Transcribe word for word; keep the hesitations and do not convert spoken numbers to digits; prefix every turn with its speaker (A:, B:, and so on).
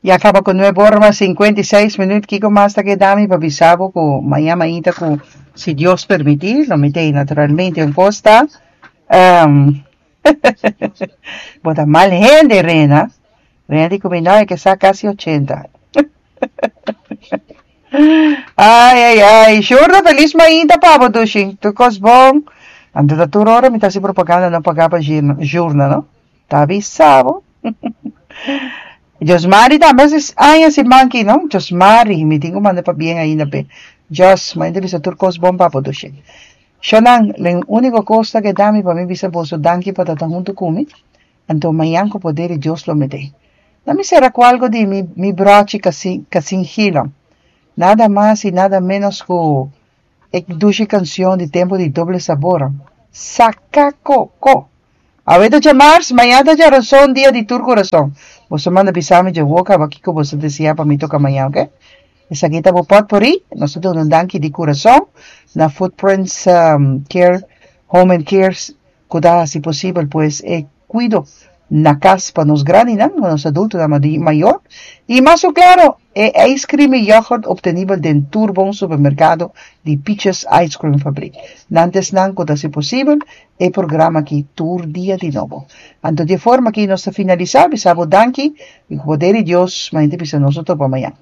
A: Ya kaba ku nuebe or mas sinkuenta i seis minüt. Kiko mas ta keda mi pa bisa bo ku mañan mainta ku si Dios permití lo mi t'ei naturalmente un kos ta um, bo ta mal hende, Rena. Rena di ku mi no e ke sa kasi ochenta. Ai ai ai, Shurda, felis mainta pa bo, dushi. Tur kos bon. Anto ta tur ora mi ta hasi propaganda no pagá pa Shurda, no? Ta bisa bo. Josmari tambe hasi aña siman aki, no? Josmari, mi tin ku manda pabien ainda p'e. Jos, mainta bisa tur kos bon pa bo, dushi. Shonan, e úniko kos ta keda mi pa mi bisa boso danki pa ta huntu ku mi. Anto mañan ku poder di Dios lo mi t'ei. Na mi sera ku algu di mi, mi brochi Casin, Casin Gilo. Nada mas i nada menos ku e dushi kanshon di tempu di Doble Sabor. Saka Koko. Awe ta djamars, mañan ta djarason, dia di tur kurason. Boso manda bisa mi dje kaba kiko boso deseá pa mi toka mañan, ok? Esaki ta bo potpourri. Nos ta duna un danki di kurason na Footprints um, Care, Home and Care, ku ta hasi posibel pues e kuido na kas pa nos grandinan, nos adultonan mayó. I mas klaro, e ice cream i yoghurt optenibel den tur bon supermerkado di Peaches Ice Cream Fabriek. Nan t'esnan ku ta hasi posibel e programa aki tur dia di nobo. Anto di forma ku nos ta finalisá, bisa bo danki i ku poder di Dios, mainta bisa nos topa mañan.